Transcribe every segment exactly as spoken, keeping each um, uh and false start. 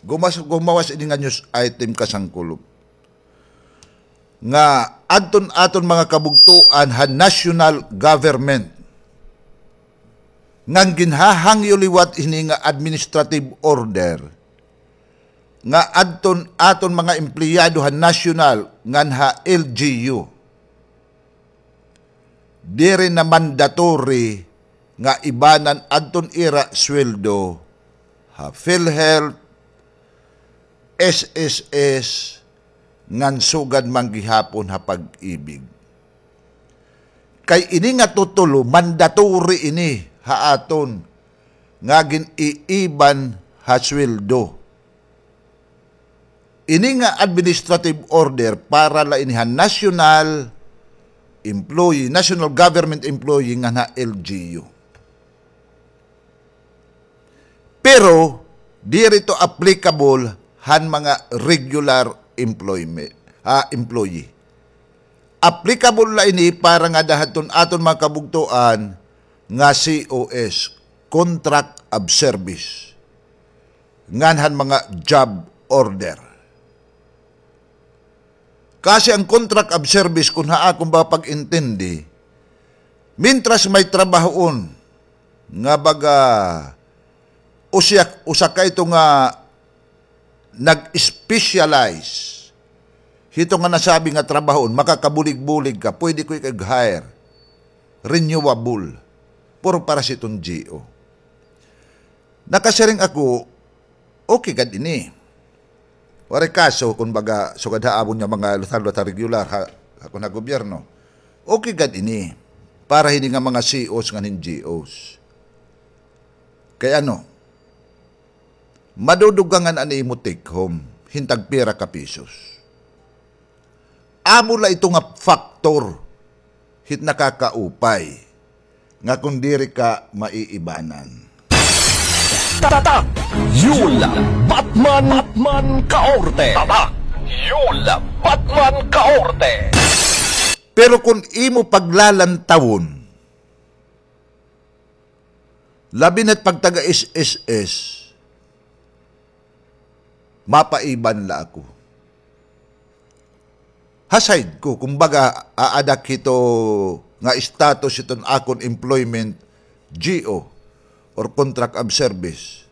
Gumas-, gumawas ini nga news item, kasangkulop, nga adton aton mga kabugtoan ha national government ngan ginhahangyo liwat hini nga administrative order nga adton aton mga empleyado ha national ngan ha L G U. Diri na mandatory nga ibanan adton ira sweldo ha PhilHealth, S S S, ngan sugad man gihapon ha Pag-ibig. Kay ini nga tutulo, mandatory ini ha aton nga gin-iiban ha sweldo. Ini nga administrative order para la ini ha national employee, national government employee ngan ha L G U. Pero diri ito applicable han mga regular employment, ah, employee. Applicable la ini para ngada hadton aton mga kabugtoan nga C O S, contract of service, ngan han mga job order. Kasi an contract of service, kon ha akon ba pag-intindi, mintras may trabahoon nga baga usa, usa ka ito nga nag-specialize hito nga nasabi nga trabahoon, makakabulig-bulig ka, pwede ko ika-hire, renewable, pero para sa iton G O. Nakasiring ako, okay gad ini. Waray kaso, kon baga, sugad ha amon nga mga lutar-lutar regular, ha, ha, kon ha gobyerno. Okay gad ini. Para hini nga mga C Os ngan hin G Os. Kay ano, madudugangan an imo take home, hin tagpira ka pisos. Amo la ito nga factor hit nakakaupay nga kon diri ka maiibanan. Tatak Yul Batman, Batman Kaorte. Tatak Yul Batman Kaorte. Pero kon imo paglalantawon, labi na't pagtaga S S S, mapaiban la ako. Ha side ko, kumbaga, aadak hito nga status hiton akon employment, G O, or contract of service.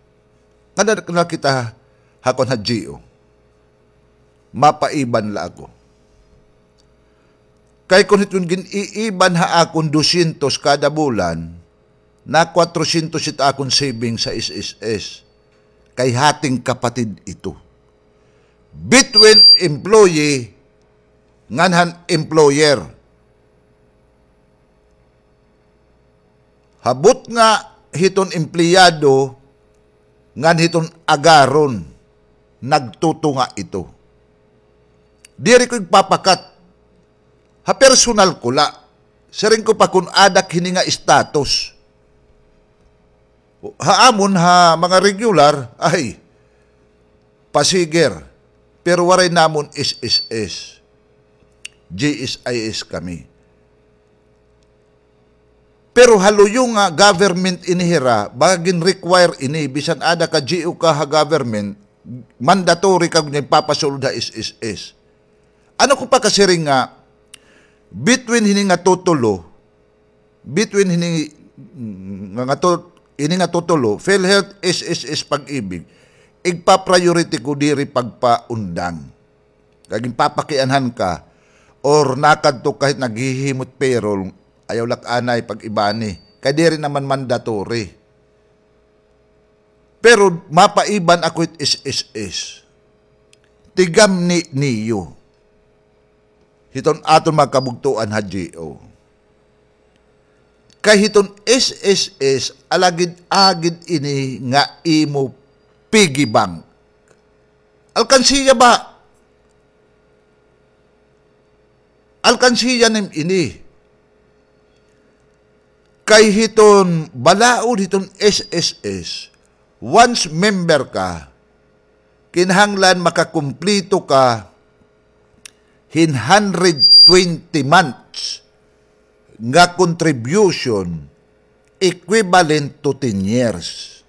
Ngada na kita ha kon ha G O. Mapaiban la ako. Kay kon hiton gin-iiban ha akon dosyentos kada bulan, na kwatrosyentos it akon savings sa S S S. Kay hating kapatid ito. Between employee ngan han employer. Ha butnga hiton empleyado ngan hiton agaron, nagtutunga ito. Diri ko igpapakat. Ha personal ko la. Siring ko pa kon adak hini nga status. Ha amon, ha mga regular, ay, pasiger. Pero waray namon S S S. G S I S kami. Pero ha luyo nga government ini hira, baga gin-require ini, bisan ada ka G O ka ha government, mandatory ka nga ipapasulod ha S S S. Ano ko pakasiring nga, between hini nga tutulo, between hini nga, nga tu-, ini nga tutulo, PhilHealth, S S S, Pag-ibig, igpa-priority ko diri pagpaundang. Kay ginpapakianhan ka, or nakadto ka hit naghihimot payroll, ayaw la anay pag-ibani. Kay diri naman mandatory. Pero mapaiban ako hit S S S. Tigamni niyo hiton aton mga kabugtoan ha G O. Kay hiton S S S, alagid-agid ini nga imo piggy bank. Alkansiya ba? Alkansiya nim ini. Kay hiton balaod hiton S S S, once member ka, kinahanglan makakumplito ka hin hundred twenty months nga contribution equivalent to ten years.